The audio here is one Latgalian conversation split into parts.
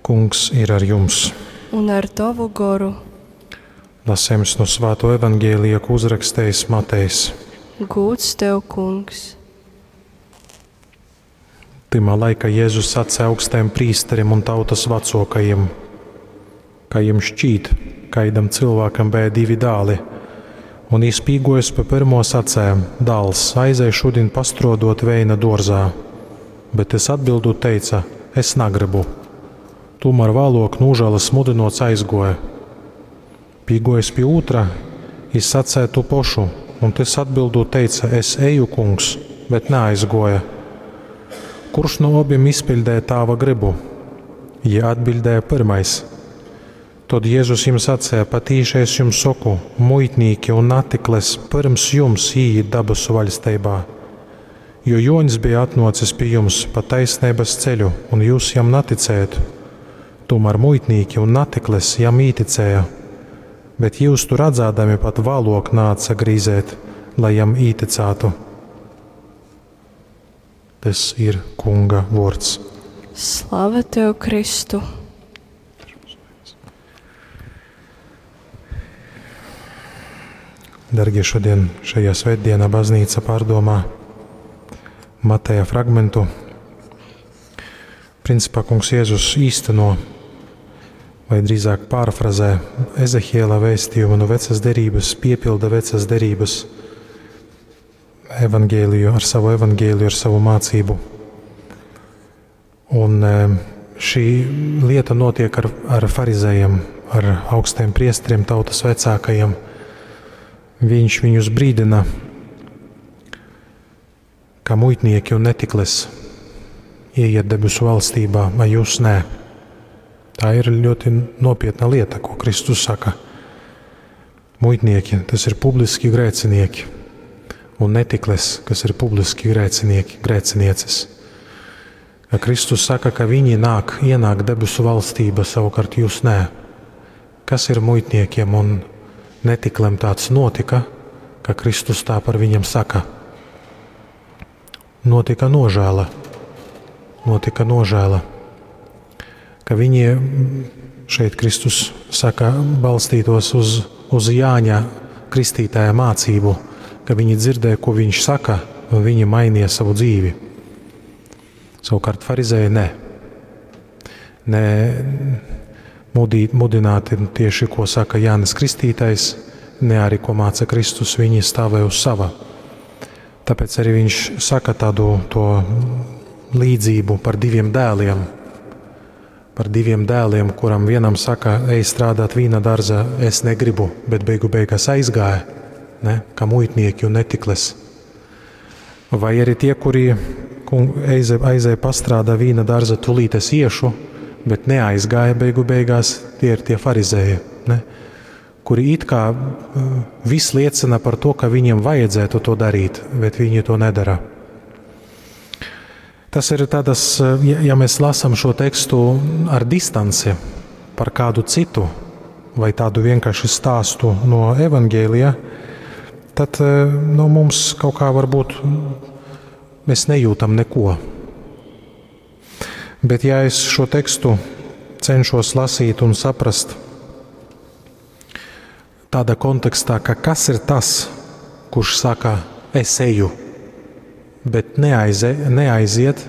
Kungs ir ar jums! Un ar tovu goru. Lasījums no Svāto evaņģēlija, ko uzrakstījis Matejs. Gūds tev, Kungs! Tymā laikā Jēzus sacīja augstajam prīsterim un tautas vecākajiem, ka jums šķīt, kaidam cilvēkam bija divi dāli, un jis pīgojas pa pirmo sacēja: Dāls, aizej šodien pastrodot veina dārzā, bet es atbildot teica: Es negribu. Tomēr vēlāk nožēlas mudinots aizgoja. Pīgojas pie otra, jis sacēja tu pošu, un tas atbildot teica: Es eju, kungs, bet neaizgoja. Kurš no abiem izpildīja tāva gribu? Jie atbildēja pirmais. Tad Jēzus jums sacīja: Patīši es jums saku, muitnīki un natikles pirms jums ieiet dabasu vaļstībā. Jo Joņs bija atnācis pie jums pa taisnības ceļu, un jūs jam neticējat. Tomēr muitnīki un natikles jam īticēja, bet jūs tu redzēdami pat vēlāk nāca grīzēt, lai jam īticātu. Tas ir Kunga vārds. Slava tev, Kristu! Dargie, šodien šajā svētdienā baznīca pārdomā Mateja fragmentu. Principā kungs Jēzus īsteno, vai drīzāk pārfrazē Ezehiela vēstījumu no vecas derības, piepilda vecas derības evangēliju ar savu evangēliju, ar savu mācību. Un šī lieta notiek ar, ar farizējiem, ar augstiem priesteriem, tautas vecākajiem. Viņš viņus brīdina, ka muitnieki un netikles ieiet debesu valstībā, vai jūs nē. Tā ir ļoti nopietna lieta, ko Kristus saka. Muitnieki, tas ir publiski grēcinieki, un netikles, kas ir publiski grēcinieki, grēcinieces. Ka Kristus saka, ka viņi nāk, ienāk debesu valstība, savukārt jūs nē. Kas ir muitniekiem un netiklem tāds notika, ka Kristus tā par viņiem saka? Notika nožēla. Notika nožēla. Ka viņi šeit Kristus saka, balstītos uz, uz Jāņa kristītāja mācību, ka viņi dzirdēja, ko viņš saka, un viņi mainīja savu dzīvi. Savukārt farizēji nē. Nē, mudī, mudināti tieši, ko saka Jānis Kristītājs, ne arī, ko māca Kristus, viņi stāvēja uz sava. Tāpēc arī viņš saka tādu to līdzību par diviem dēliem. Par diviem dēliem, kuram vienam saka, ej strādāt vīna dārzā, es negribu, bet beigu beigās aizgāja, ne, kā muitnieki un netikles. Vai arī tie, kuri aizēja pastrādā vīna dārza, tūlīt es iešu, bet neaizgāja beigu beigās, tie ir tie farizēji, ne? Kuri it kā viss liecina par to, ka viņiem vajadzētu to darīt, bet viņi to nedara. Tas ir tādas, ja, ja mēs lasām šo tekstu ar distanci par kādu citu vai tādu vienkārši stāstu no evaņģēlija, tad no mums kaut kā varbūt mēs nejūtam neko. Bet ja es šo tekstu cenšos lasīt un saprast tādā kontekstā, ka kas ir tas, kurš saka, es eju, bet neaize, neaiziet,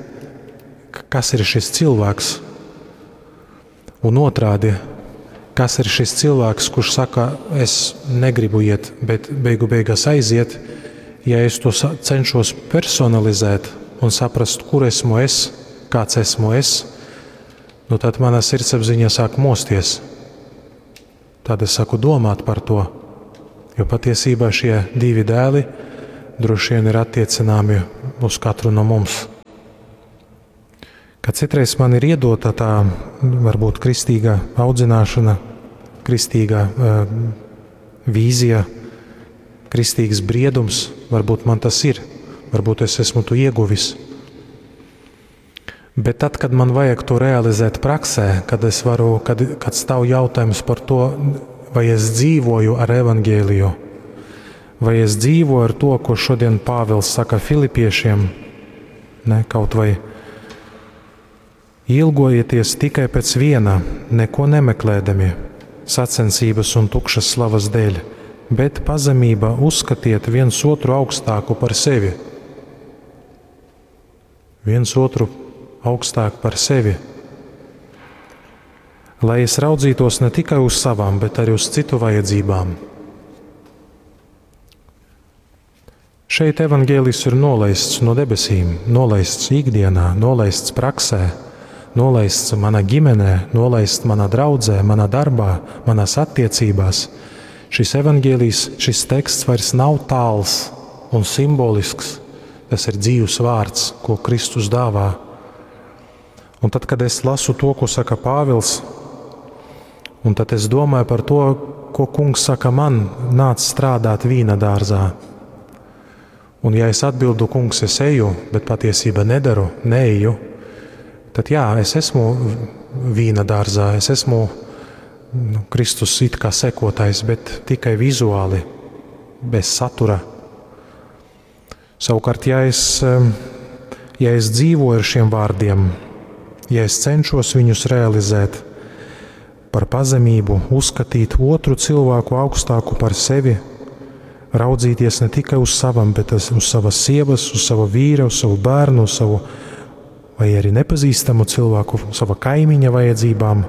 kas ir šis cilvēks? Un otrādi, kas ir šis cilvēks, kurš saka, es negribu iet, bet beigu beigās aiziet, ja es to cenšos personalizēt un saprast, kur esmu es, kāds esmu es, nu tad mana sirdsapziņa sāk mosties. Tad es sāku domāt par to, jo patiesībā šie divi dēli droši vien ir attiecināmi uz katru no mums. Kad citreiz man ir iedota tā varbūt kristīgā audzināšana, kristīgā uh, vīzija, kristīgs briedums, varbūt man tas ir, varbūt es esmu to ieguvis. Bet tad, kad man vajag to realizēt praksē, kad es varu, kad, kad stāv jautājums par to, vai es dzīvoju ar evaņģēliju, vai es dzīvoju ar to, ko šodien Pāvils saka Filipiešiem, ne, kaut vai Ilgojieties tikai pēc viena, neko nemeklēdami, sacensības un tukšas slavas dēļ, bet pazemībā uzskatiet viens otru augstāku par sevi. Viens otru augstāk par sevi. Lai es raudzītos ne tikai uz savām, bet arī uz citu vajadzībām. Šeit evaņģēlijs ir nolaists no debesīm, nolaists ikdienā, nolaists praksē, nolaists manā ģimenē, nolaists manā draudzē, manā darbā, manās attiecībās. Šis evaņģēlijs, šis teksts vairs nav tāls un simbolisks. Tas ir dzīvs vārds, ko Kristus dāvā. Un tad, kad es lasu to, ko saka Pāvils, un tad es domāju par to, ko kungs saka man, nāc strādāt vīna dārzā. Un ja es atbildu, kungs, es eju, bet patiesībā nedaru, neeju, tad jā, es esmu vīna dārzā, es esmu nu, Kristus it kā sekotājs, bet tikai vizuāli, bez satura. Savukārt, ja es, ja es dzīvoju ar šiem vārdiem, ja es cenšos viņus realizēt, par pazemību, uzskatīt otru cilvēku augstāku par sevi, raudzīties ne tikai uz savam, bet uz savas sievas, uz sava vīra, uz savu bērnu, uz savu vai arī nepazīstamu cilvēku, sava kaimiņa vajadzībām,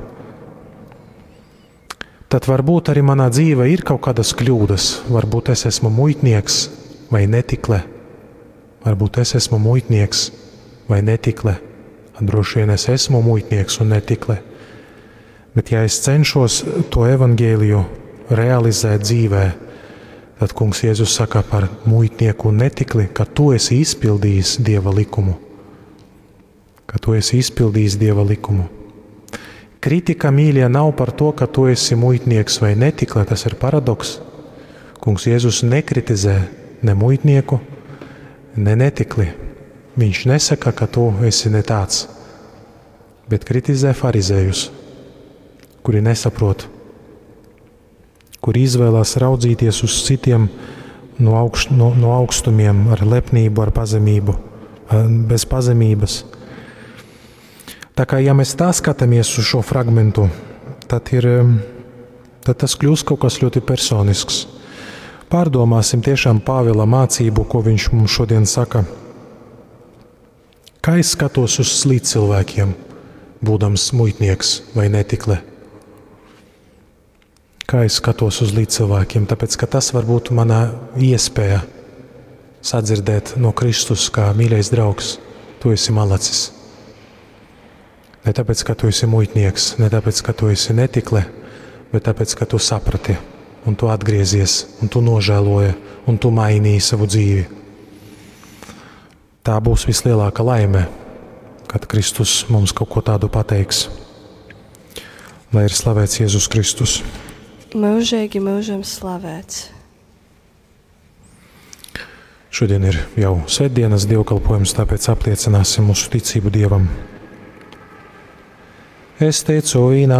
tad varbūt arī manā dzīvē ir kaut kādas kļūdas. Varbūt es esmu muitnieks vai netikle. Varbūt es esmu muitnieks vai netikle. Droši vien es esmu muitnieks un netikle. Bet ja es cenšos to evaņģēliju realizēt dzīvē, tad Kungs Jēzus saka par muitnieku un netikli, ka tu esi izpildījis Dieva likumu. Ka tu esi izpildījis Dieva likumu. Kritika, mīļie, nav par to, ka tu esi muitnieks vai netikle, tas ir paradoks. Kungs Jēzus nekritizē ne muitnieku, ne netikli. Viņš nesaka, ka tu esi ne tāds, bet kritizē farizējus, kuri nesaprot, kuri izvēlās raudzīties uz citiem no, augš, no, no augstumiem, ar lepnību, ar pazemību, bez pazemības. Tā kā ja mēs tā skatāmies uz šo fragmentu, tad, ir, tad tas kļūst kaut kas ļoti personisks. Pārdomāsim tiešām Pāvila mācību, ko viņš mums šodien saka. Kā es skatos uz līdzcilvēkiem, būdams muitnieks vai netikle? Kā es skatos uz līdzcilvēkiem? Tāpēc, ka tas var būt mana iespēja sadzirdēt no Kristus, kā mīļais draugs, tu esi malacis. Ne tāpēc, ka tu esi muitnieks, ne tāpēc, ka tu esi netikle, bet tāpēc, ka tu saprati un tu atgriezies, un tu nožēloji, un tu mainīji savu dzīvi. Tā būs vislielākā laime, kad Kristus mums kaut ko tādu pateiks. Lai ir slavēts Jēzus Kristus. Mūžīgi mūžam slavēts. Šodien ir jau svētdienas dievkalpojums, tāpēc apliecināsim mūsu ticību Dievam. Es ticu vienam